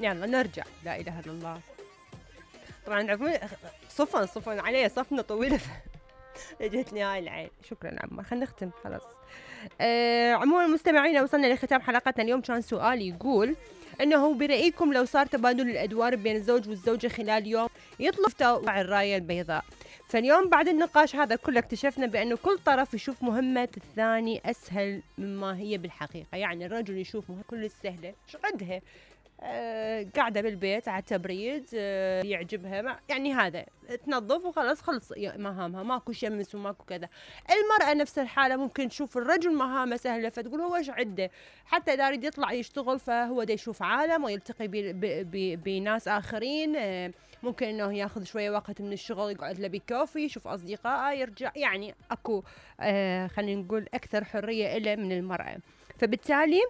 يلا نرجع. لا إله إلا الله. طبعا عفوا صفن علي صفنة طويلة اجتني هاي العين. شكرا عمار، خلينا نختم خلاص. عموما المستمعين وصلنا لختام حلقتنا اليوم. كان سؤال يقول انه برأيكم لو صار تبادل الادوار بين الزوج والزوجة خلال يوم يطلب الراية البيضاء. فاليوم بعد النقاش هذا كله اكتشفنا بانه كل طرف يشوف مهمة الثاني اسهل مما هي بالحقيقة. يعني الرجل يشوف مهمة كل السهلة شو عندها، قاعدة بالبيت على تبريد، يعجبها يعني هذا تنظف وخلاص خلص مهامها، ماكو شمس وماكو كذا. المرأة نفس الحالة ممكن تشوف الرجل مهامه سهلة فتقول هو ايش عنده، حتى إذا يريد يطلع يشتغل فهو دا يشوف عالم ويلتقي بناس آخرين. ممكن انه ياخذ شوية وقت من الشغل يقعد له بكوفي يشوف أصدقائه يرجع، يعني اكو خلينا نقول أكثر حرية إله من المرأة. فبالتالي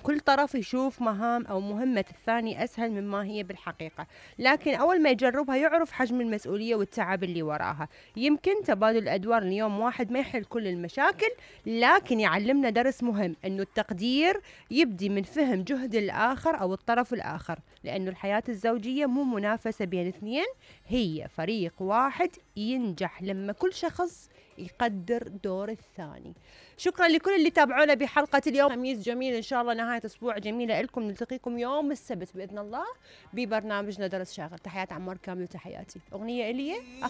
كل طرف يشوف مهام أو مهمة الثاني أسهل مما هي بالحقيقة، لكن أول ما يجربها يعرف حجم المسؤولية والتعب اللي وراها. يمكن تبادل الأدوار اليوم واحد ما يحل كل المشاكل، لكن يعلمنا درس مهم، أنه التقدير يبدي من فهم جهد الآخر أو الطرف الآخر، لأنه الحياة الزوجية مو منافسة بين اثنين، هي فريق واحد ينجح لما كل شخص يقدر دور الثاني. شكرا لكل اللي تابعونا بحلقة اليوم. خميس جميل إن شاء الله، نهاية أسبوع جميلة لكم. نلتقيكم يوم السبت بإذن الله ببرنامجنا درس شاغر. تحيات عمار كامل وتحياتي. أغنية إليه